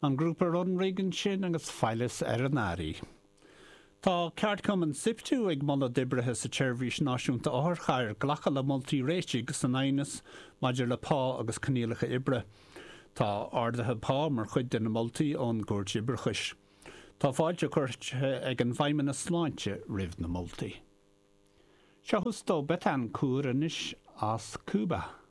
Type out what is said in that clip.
An grúpa Runrig ansin agus Faillis ar an Airí. Tá ceardchumann Siptu ag moladh d'oibrithe sa tSeirbhís Náisiúnta Otharchairr glacadh le moltaí réitigh san aighneas maidir le pá agus coinníollacha oibre. Tá arduithe pá mar chuid de na moltaí ón gCúirt Oibreachais. Tá fáilte curtha ag an bhFeidhmeannas Sláinte roimh na moltaí. Seo Justo Betancourt anois as Cúba.